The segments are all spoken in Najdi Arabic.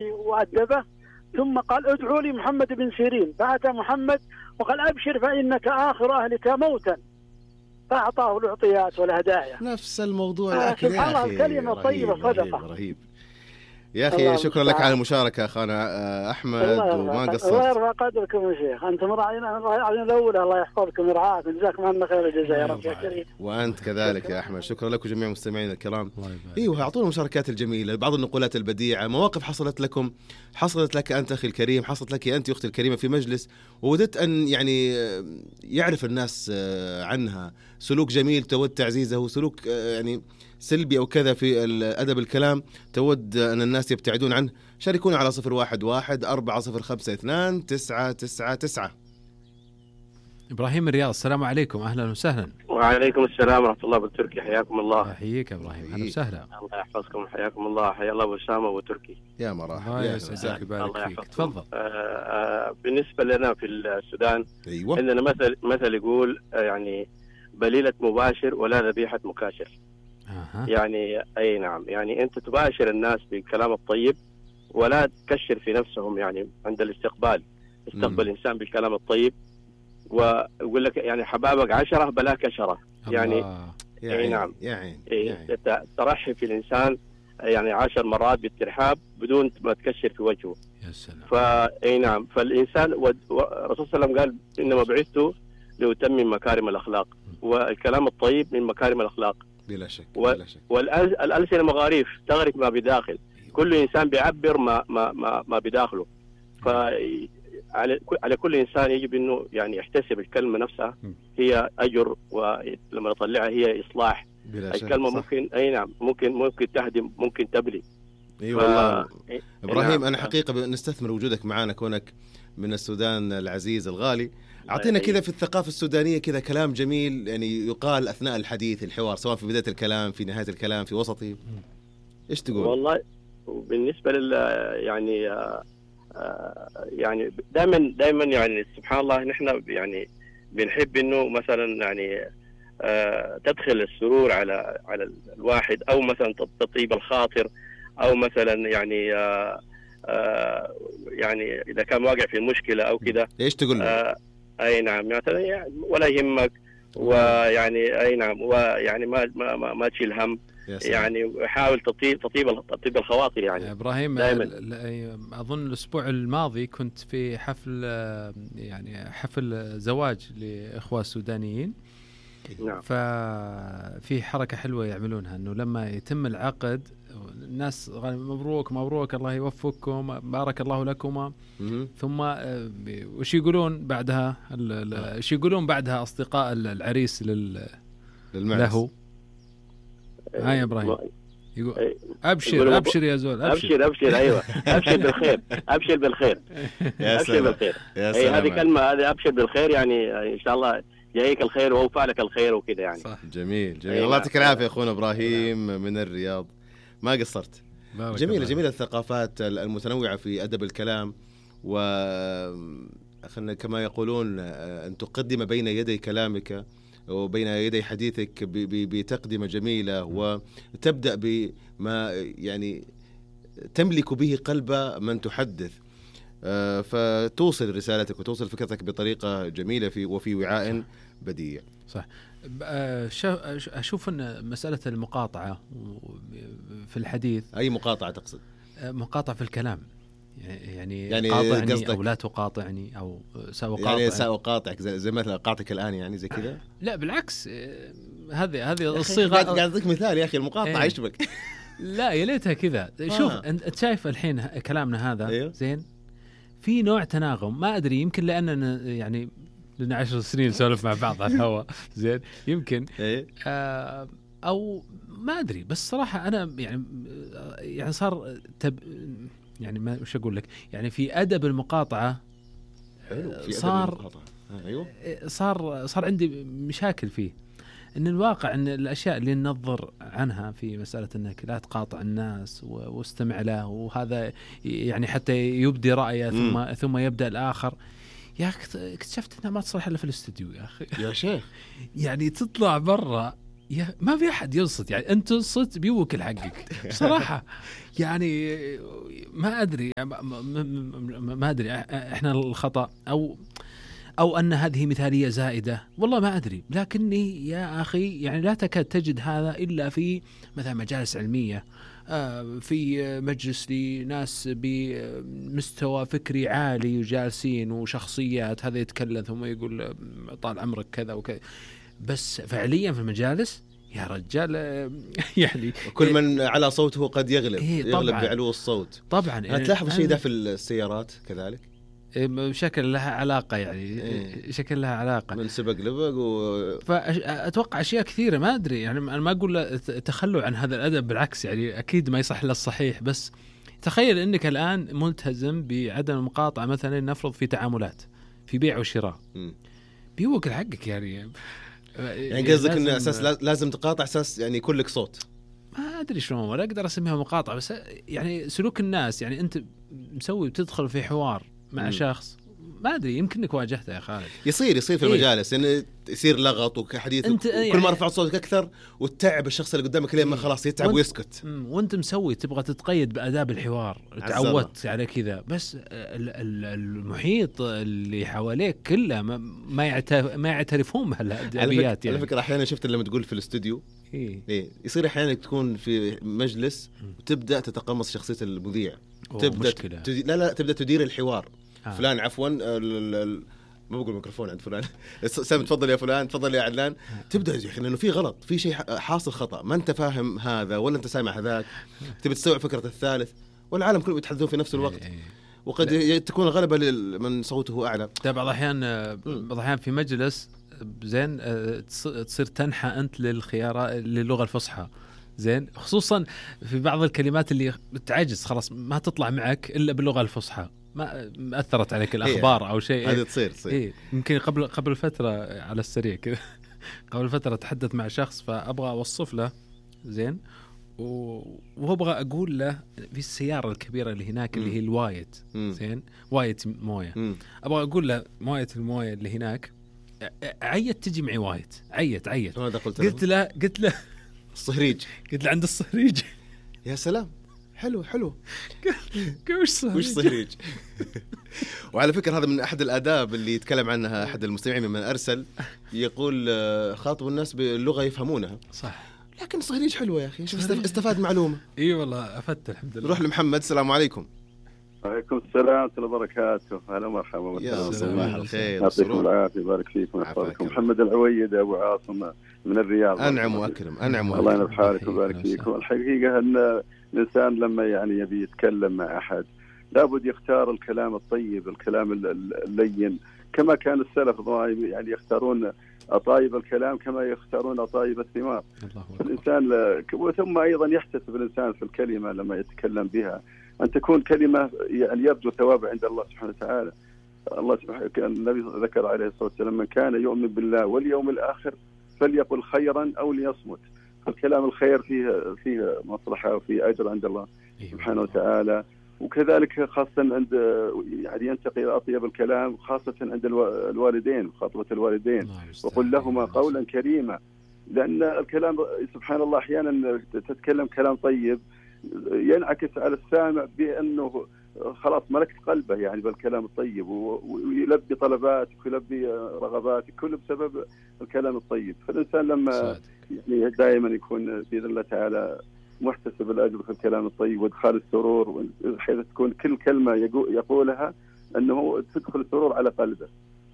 وأدبه، ثم قال ادعوا لي محمد بن سيرين، فأتى محمد وقال أبشر فإنك آخر أهلك موتا، فأعطاه العطيات والهدايا. نفس الموضوع الأكل سبحان الله، الكلمة طيبة صدقة. رهيب يا أخي. شكرا لك على المشاركة أخانا أحمد، وما قصرت. الله يرفع قدركم يا شيخ، أنتم راعينا الأولى، الله يحفظكم ويرعاكم، جزاكم الله خير الجزاء يا رب يا كريم. وأنت كذلك يا أحمد، شكرا لكم جميع مستمعين الكرام. أيوه، أعطونا المشاركات الجميلة، بعض النقولات البديعة، مواقف حصلت لكم، حصلت لك أنت أخي الكريم، حصلت لك أنت أختي الكريمة في مجلس، ووددت أن يعني يعرف الناس عنها سلوك جميل تود تعزيزه، وسلوك يعني سلبي أو كذا في أدب الكلام تود أن الناس يبتعدون عنه. شاركونا على 011-402-999. إبراهيم الرياض، السلام عليكم، أهلا وسهلا. وعليكم السلام ورحمة الله بالتركي، حياكم الله. أحييك إبراهيم، أهلا وسهلا. الله يحفظكم، حياكم الله، حيا الله أبو أسامة وتركي. يا مرحبا، الله يسعدك ويبارك فيك، تفضل. بالنسبة لنا في السودان، أيوة. عندنا مثل يقول يعني بليلة مباشر ولا ذبيحة مكاشر. يعني أي نعم، يعني أنت تباشر الناس بالكلام الطيب ولا تكشر في نفسهم، يعني عند الاستقبال استقبل الإنسان بالكلام الطيب، ويقول لك يعني حبابك 10 بلاك 10. يعني أي نعم، ترحب في الإنسان يعني 10 مرات بالترحاب بدون ما تكشر في وجهه. يا سلام. فأي نعم، فالإنسان الرسول صلى الله عليه وسلم قال إنما بعثت لأتمم مكارم الأخلاق، والكلام الطيب من مكارم الأخلاق بلا شك. والألسنة مغاريف تغرق ما بداخل. كل إنسان بيعبر ما بداخله. على كل إنسان يجب إنه يعني يحتسب الكلمة نفسها هي أجر، ولما يطلعها هي إصلاح. الكلمة ممكن أي نعم ممكن تهدم، ممكن تبلي. والله إبراهيم، نعم. أنا حقيقة نستثمر وجودك معنا، كونك من السودان العزيز الغالي. أعطينا كذا في الثقافة السودانية كذا كلام جميل يعني يقال أثناء الحديث الحوار، سواء في بداية الكلام، في نهاية الكلام، في وسطه. إيش تقول؟ والله بالنسبة يعني دائما يعني سبحان الله، نحن يعني بنحب إنه مثلا يعني تدخل السرور على الواحد، أو مثلا تطيب الخاطر، أو مثلا يعني يعني إذا كان واقع في مشكلة أو كذا. إيش تقول له؟ أي نعم، مثلا يعني ولا يهمك، ويعني أي نعم، ويعني ما تشيل هم، يعني حاول تطيب الخواطر. يعني إبراهيم أظن الأسبوع الماضي كنت في حفل زواج لإخوة سودانيين. نعم. ففي حركة حلوة يعملونها، أنه لما يتم العقد الناس مبروك مبروك، الله يوفقكم، بارك الله لكما. ثم وش يقولون بعدها؟ وش يقولون بعدها أصدقاء العريس له؟ هاي يا إبراهيم يقول أبشر يا زول، أبشر أيوة، أبشر بالخير، أبشر بالخير. أبشر بالخير. هذه كلمة، هذه أبشر بالخير، يعني إن شاء الله جايك الخير ووفى لك الخير وكذا يعني. صح. جميل. الله يعطيك العافية أخونا إبراهيم من الرياض، ما قصرت. جميلة الثقافات المتنوعة في أدب الكلام، وخلنا كما يقولون أن تقدم بين يدي كلامك وبين يدي حديثك بتقدمة جميلة، وتبدأ بما يعني تملك به قلب من تحدث، فتوصل رسالتك وتوصل فكرتك بطريقة جميلة وفي وعاء بديع. صح. أشوف أن مسألة المقاطعة في الحديث. أي مقاطعة تقصد؟ مقاطعة في الكلام، يعني قاطعني أو لا تقاطعني، أو سأقاطع، يعني سأقاطعك زي مثلا قاطعك الآن، يعني زي كذا. لا بالعكس، هذه الصيغة. قاعد أعطيك مثال يا أخي، المقاطعة يشبك. لا يا ليتها كذا. شوف أنت شايف الحين كلامنا هذا. أيوه؟ زين، في نوع تناغم، ما أدري، يمكن لأننا يعني لنا 10 سنين نسولف مع بعض على الهواء. زين، يمكن أو ما أدري، بس صراحة أنا يعني صار يعني ما وش أقول لك، يعني في أدب المقاطعة صار عندي مشاكل فيه. إن الواقع إن الأشياء اللي ننظر عنها في مسألة إنك لا تقاطع الناس واستمع له، وهذا يعني حتى يبدي رأيه ثم يبدأ الآخر. يا أخي اكتشفت إنها ما تصلح إلا في الاستوديو يا أخي. يا شيخ يعني تطلع برا ما في أحد ينصت، يعني أنت تنصت بيوكل حقك صراحة. يعني ما أدري ما أدري إحنا الخطأ أو أن هذه مثالية زائدة، والله ما أدري. لكني يا أخي يعني لا تكاد تجد هذا إلا في مثلا مجالس علمية، في مجلس لناس بمستوى فكري عالي وجالسين وشخصيات، هذا يتكلم ثم يقول طال عمرك كذا وكذا. بس فعليا في المجالس يا رجال يعني كل من على صوته قد يغلب بعلو الصوت. طبعا تلاحظ شيء ده في السيارات كذلك، شكل لها علاقة، يعني شكل لها علاقة من سبق لبق فأتوقع أشياء كثيرة ما أدري. يعني أنا ما أقول تخلوا عن هذا الأدب، بالعكس يعني أكيد ما يصح للصحيح. بس تخيل أنك الآن ملتزم بعدم المقاطعة مثلا، نفرض في تعاملات في بيع وشراء، بيوكل حقك يعني قصدك أن أساس لازم تقاطع، أساس يعني يكون لك صوت. ما أدري شلون ولا أقدر أسميها مقاطعة، بس يعني سلوك الناس. يعني أنت مسوي بتدخل في حوار مع شخص ما أدري، يمكنك واجهته يا خالد. يصير في المجالس يعني يصير لغط وحديث، وكل ما رفعت صوتك أكثر وتتعب الشخص اللي قدامك لين ما خلاص يتعب ويسكت. وأنت مسوي تبغى تتقيد بآداب الحوار، تعودت على كذا، بس المحيط اللي حواليك كله ما يعترفون بهالأدبيات. على فكرة أحيانا شفت لما تقول في الاستوديو يصير أحيانا تكون في مجلس وتبدأ تتقمص شخصية المذيع، تبدأ تبدأ تدير الحوار. فلان عفوا ما بقول ميكروفون عند فلان سام تفضل يا فلان، تفضل يا علان. تبدأ يعني إنه في غلط، في شيء حاصل خطأ، ما أنت فاهم هذا ولا أنت سامع هذاك، تبي تستوعب فكرة الثالث، والعالم كله يتحدثون في نفس الوقت. وقد تكون غلبة من صوته أعلى. بعض الأحيان في مجلس زين تصير تنحى أنت للخيارات للغة الفصحى، زين، خصوصا في بعض الكلمات اللي تعجز خلاص ما تطلع معك إلا باللغة الفصحى، ما أثرت عليك الأخبار أو شيء. هذه تصير. يمكن قبل فترة على السريع كذا قبل فترة تحدث مع شخص، فأبغى أوصف له زين، وأبغى أقول له في السيارة الكبيرة اللي هناك اللي هي الوايت، زين، وايت موية، أبغى أقول له موية الموية اللي هناك عيت تجي معي وايت، عيت. قلت له الصهريج، قلت له عند الصهريج. يا سلام، حلو وش صهريج. وعلى فكرة هذا من أحد الآداب اللي يتكلم عنها أحد المستمعين ممن أرسل، يقول خاطبوا الناس باللغة يفهمونها. صح، لكن صهريج حلوة يا أخي، شوف استفاد معلومة. والله أفدت الحمد لله. نروح لمحمد. السلام عليكم. وعليكم السلام ورحمة الله وبركاته. أهلا ومرحبا. يا صباح الخير، يعطيكم العافية، يبارك فيكم ويحفظكم. محمد العويد أبو عاصم من الرياض. أنعم وأكرم. الله ينفع حالك ويبارك فيكم. الحقيقة أن الإنسان لما يعني يبي يتكلم مع أحد لابد يختار الكلام الطيب، الكلام اللين، كما كان السلف يعني يختارون أطايب الكلام كما يختارون أطايب الثمار. الإنسان ثم أيضا يحتسب الإنسان في الكلمة لما يتكلم بها أن تكون كلمة يعني يبدو ثوابها عند الله سبحانه وتعالى. الله سبحانه النبي ذكر عليه الصلاة والسلام: من كان يؤمن بالله واليوم الآخر فليقل خيرا أو ليصمت. الكلام الخير فيه مصلحة وفيه أجر عند الله سبحانه وتعالى. وكذلك خاصة عند يعني ينتقي إلى أطيب الكلام خاصة عند الوالدين، خاطبة الوالدين، وقل لهما قولا كريما. لأن الكلام سبحان الله أحيانا تتكلم كلام طيب ينعكس على السامع بأنه خلاص ملكت قلبه يعني بالكلام الطيب، ويلبي طلباتك ويلبي رغباتك كله بسبب الكلام الطيب. فالإنسان لما يعني دائما يكون بإذن الله تعالى محتسب الأجر في الكلام الطيب وإدخال السرور، بحيث تكون كل كلمة يقولها أنه تدخل السرور على قلبه،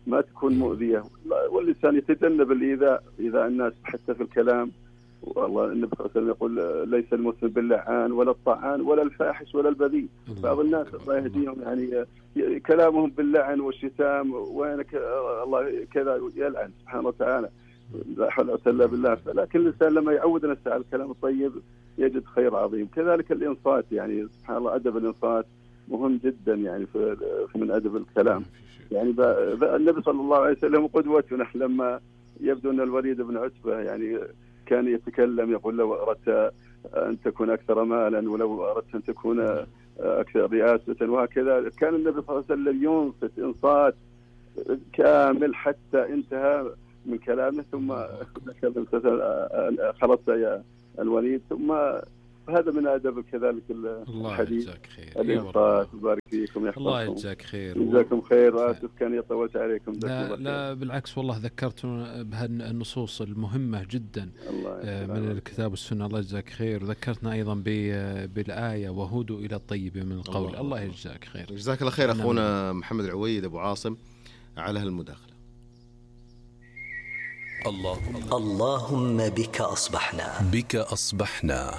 ما تكون مؤذية. والإنسان يتجنب الإيذاء الناس حتى في الكلام. والله النبي صلى الله عليه وسلم يقول: ليس المسلم باللعان ولا الطعان ولا الفاحش ولا البذيء. بعض الناس الله يهديهم يعني كلامهم باللعن والشتام، وينك الله كذا يلعن سبحانه وتعالى، لا حول ولا قوة إلا بالله. لكن الإنسان لما يعود نفسه على الكلام الطيب يجد خير عظيم. كذلك الإنصات، يعني سبحان الله أدب الإنصات مهم جدا يعني في من أدب الكلام. يعني النبي صلى الله عليه وسلم قدوتنا. لما يبدو أن الوليد بن عتبة يعني كان يتكلم يقول: لو أردت أن تكون أكثر مالا ولو أردت أن تكون أكثر رئاسة وهكذا. كان النبي صلى الله عليه وسلم ينصت إنصات كامل حتى انتهى من كلامه ثم خلصت يا الوليد. ثم هذا من أدب كذلك الحديث. الله يجزاك خير. الإنصات. وبارك فيكم يا الله يجزاك خير. جزاكم خير. وآسف كان طولت عليكم. لا بالعكس والله ذكرتنا بهالنصوص المهمة جدا من الكتاب والسنة. الله يجزاك خير. وذكرتنا أيضا بالآية وهودوا إلى الطيب من القول. الله يجزاك خير. جزاك الله خير أخونا محمد العويد أبو عاصم على هالمداخلة. اللهم بك أصبحنا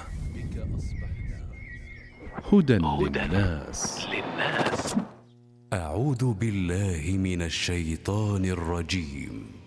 هدى للناس. أعوذ بالله من الشيطان الرجيم.